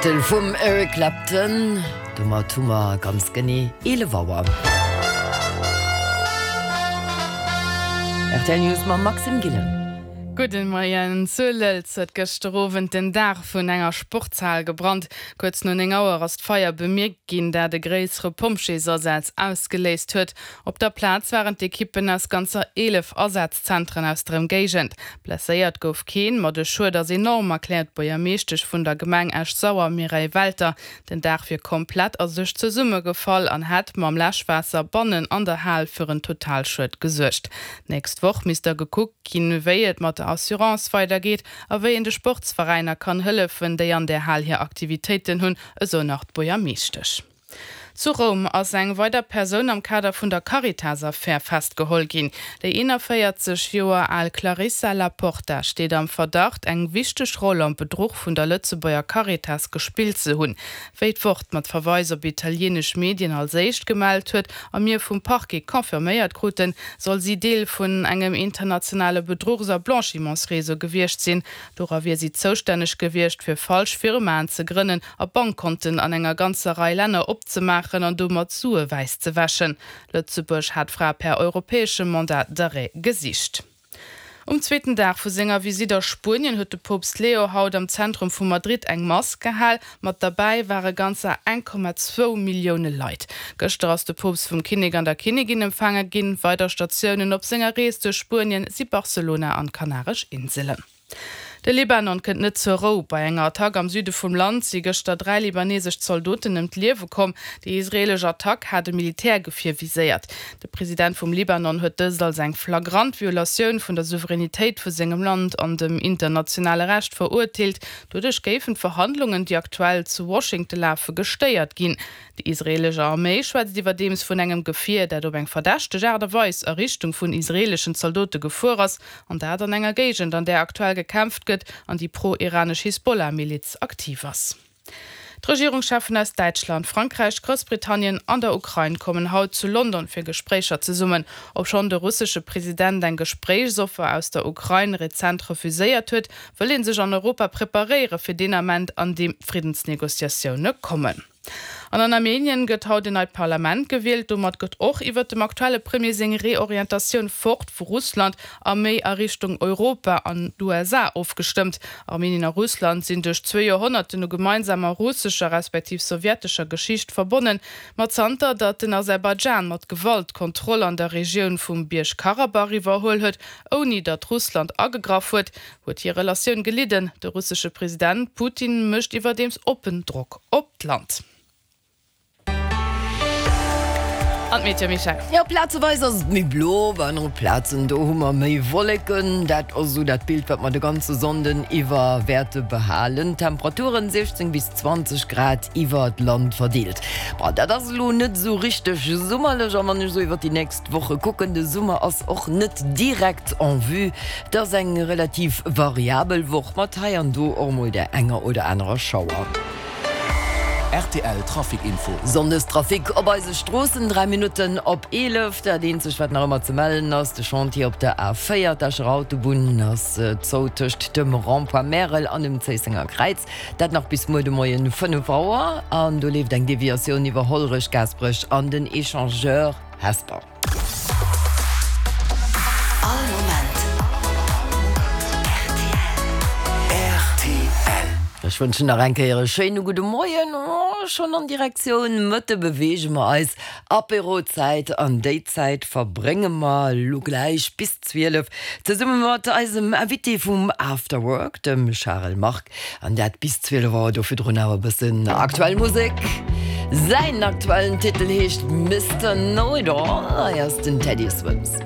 Titel vum Eric Clapton. Domat hu mer ganz genee 11 Auer. Rtl News mam Maxime Gillen. Gudde Moien. Zu Lëlz huet gëschter Owend den Daach vun enger Sportshal gebrannt. Kuerz no 9 Auer ass d'Feier bemierkt ginn, dat e gréissere Pompjeesasaz ausgeléist huet. Op der Plaz waren d'Ekippen aus ganzer 11 Asazzentren aus der Ëmgéigend. Blesséiert gouf keen, ma de Schued ass enorm, erkläert d'Buergermeeschtesch vun der Gemeng Esch-Sauer Mireille Welter. Den Daach wier komplett a sech zesummegefall an hätt mam Läschwaasser bannen an der Hal fir en Totalschued gesuergt. D'nächst Woch misst da gekuckt ginn, wéi et mat der Assurance weidergeet a wéi een de Sportsveräiner kann hëllefen, déi an där Hal hir Aktivitéiten hunn, esou nach d'Buergermeeschtesch. Zu Roum ass eng weider Persoun am Kader vun der Caritas-Affär festgeholl ginn. Déi 41 Joer al Clarissa La Porta steet am Verdacht, eng wichteg Roll am Bedruch vun der Lëtzebuerger Caritas gespillt ze hunn. Wéi d'Wort mat Verweis op italieenesch Medien als éischt gemellt huet a mir vum Parquet confirméiert kruten, soll si Deel vun engem internationale Bedruchs a Blanchimentsreseau gewiescht sinn. Dora wier si zoustänneg gewiescht, fir falsch Firmaen ze grënnen a Bankkonten an enger ganzer Rei Länner opzemaachen an domat Sue wäiss ze wäschen. Lëtzebuerg hat d'Fra per europäeschem Mandat d'arrêt gesicht. Um zweeten Dag vu senger Visitt a Spuenien huet de Poopst Leo haut am Zentrum vu Madrid eng Mass gehal. Mat derbäi ware ganzer 1,2 Millioune Leit. Gëschter ass de Poopst vum Kinnek an der Kinnigin empfaange ginn. Weider Statiounen op senger Rees duerch Spuenien si Barcelona an d'Kanaresch Inselen. De Libanon kënnt net zur Rou. Bei enger Attack am Süde vum Land si gëschter 3 libanesesch Zaldoten ëm d'Liewe komm. Déi israeelesch Attack hat e Militärgefier viséiert. De President vum Libanon huet dëst als eng flagrant Violatioun vun der Souveränitéit vu sengem Land an dem internationale Recht verurteelt. Doduerch géifen d'Verhandlungen, déi aktuell zu Washington lafe, gestéiert ginn. Déi israeelesch Arméi schwätzt iwwerdeems vun engem Gefier, dat op eng verdächteg Aart a Weis a Richtung vun israeeleschen Zaldote gefuer ass, an dat an enger Géigend, an där aktuell gekämpft gëtt an déi pro-iranesch Hisbollah-Miliz aktiv ass. D'Regierungscheffen aus Däitschland, Frankräich, Groussbritannien an der Ukrain kommen haut zu London fir Gespréicher zesummen. Obschonn de russesche President eng Gespréichsoffer aus der Ukrain rezent refuséiert huet, wëll ee sech an Europa preparéiere fir deen Ament, an deem d'Friddensnegociatioune kommen. An an Armenien gëtt haut en neit Parlament gewielt. Domat gëtt och iwwert dem aktuelle Premier seng Reorientatioun fort vu Russland a méi a Richtung Europa an d'USA ofgestëmmt. Armenien a Russland sinn duerch zwee Joerhonnerten u gemeinsamer russescher respektiv sowjetescher Geschicht verbonnen. Ma zanter datt den Aserbaidschan mat Gewalt d'Kontroll an der Regioun vum Bierg-Karabach iwwerhuel huet, ouni datt Russland agegraff huet, Huet hir Relatioun gelidden. De russesche President Putin mécht iwwerdeems oppen Drock op d'Land. An d'Meteo, Michèle? Jo, plazeweis ass et méi blo, op anere Plazen do hu mer méi Wolleken. Dat ass esou dat Bild, wat mer de ganze Sonnden iwwer wäerte behalen. Temperaturen, 16 bis 20 Grad iwwer d'Land verdeelt. Bon, dat ass elo net esou richteg summerlech a wann ech esou iwwer déi nächst Woche kucken, de Summer ass och net direkt en vue. Et ass eng relativ variabel Woch mat hei an do och mol där enger oder anerer Schauer. Rtl Trafic Info. Sonndestrafic op eise Stroossen, 3 Minutten op 11. Dat eenzegt wat nach ëmmer ze mellen ass, de Chantier op der A4, d'Escher Autobunn ass zou tëscht dem Rond-point Märel an dem Zéissenger Kräiz. Dat nach bis muer de Moien 5 Auer an do leeft eng Deviatioun iwwer Hollerech, Gaasperech an den Echangeur Hesper. All Moment rtl. Ech wënschen nach eng Kéier e schéine gudde Moien. Schonn an Direktioun Mëtte beweege mer eis. Apérozäit an déi Zäit verbrénge mer elo gläich bis 12 zesumme mat eisem Invité vum After Work, dem Charel Margue. An dat bis 12 Auer, do virdrun awer e bëssen aktuell Musek. Säin aktuellen Titel heescht Mister Know It All. Hei ass den Teddy Swims.